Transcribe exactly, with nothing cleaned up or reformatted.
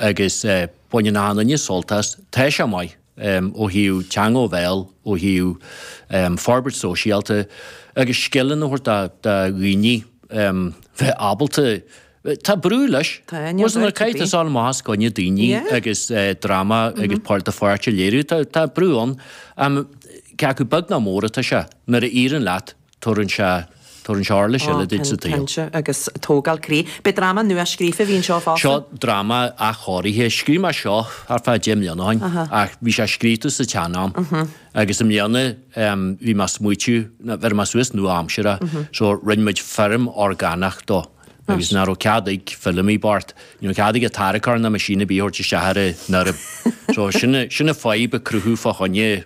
Agus baineann achan duine sult as. Tá sé maith ó thaobh teanga ó bhéal, ó thaobh forbairt sóisialta agus scileanna a thabhairt do dhaoine bheith ábalta. Tá brú leis. Tá, níl Wasn't dabht ar caithfidh bith. tú dul amach os coinne daoine Yeah. agus dráma agus páirt do pháirt a léiriú. Tá tá brú ann. Cé acu beag nó mór atá sé, nuair a éiríonn leat, tabharann sé tabharann sé uirlis eile duit sa tsaol. Cinnte, agus tógáil croí. B'é dráma nua scríofa a bhí anseo fosta? Seo dráma athchóirithe. Scríobh mé seo thart fá deich mbliana ó shin ach bhí sé scríofa sa tsean-am agus i mbliana bhí mé ag smaoitiú, bheir mé suas nua-aimseartha so rinne muid foirm orgánach dó agus nach raibh cead ag Feilimí bocht, ní raibh cead aige tarracóir ná machine ar bith a thabhairt isteach ar an fheirm. So sin sin an fadhb a cruthú fá choinne